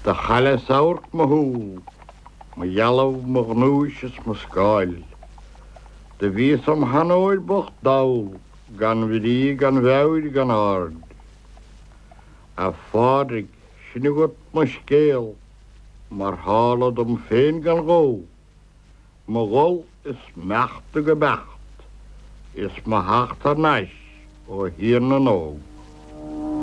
Do chailleas amharc mo shúl, mo dhealbh, mo ghnúis is mo scáil. Do bhíos im sheanóir bocht dall, gan bhrí, gan mheabhair, gan aird. A Phádraig, sin agat mo scéal, mar tharla dom féin gan ghó, mo dhul is m'imeacht go beacht, is mo theacht thar n-ais ó Thír na nÓg.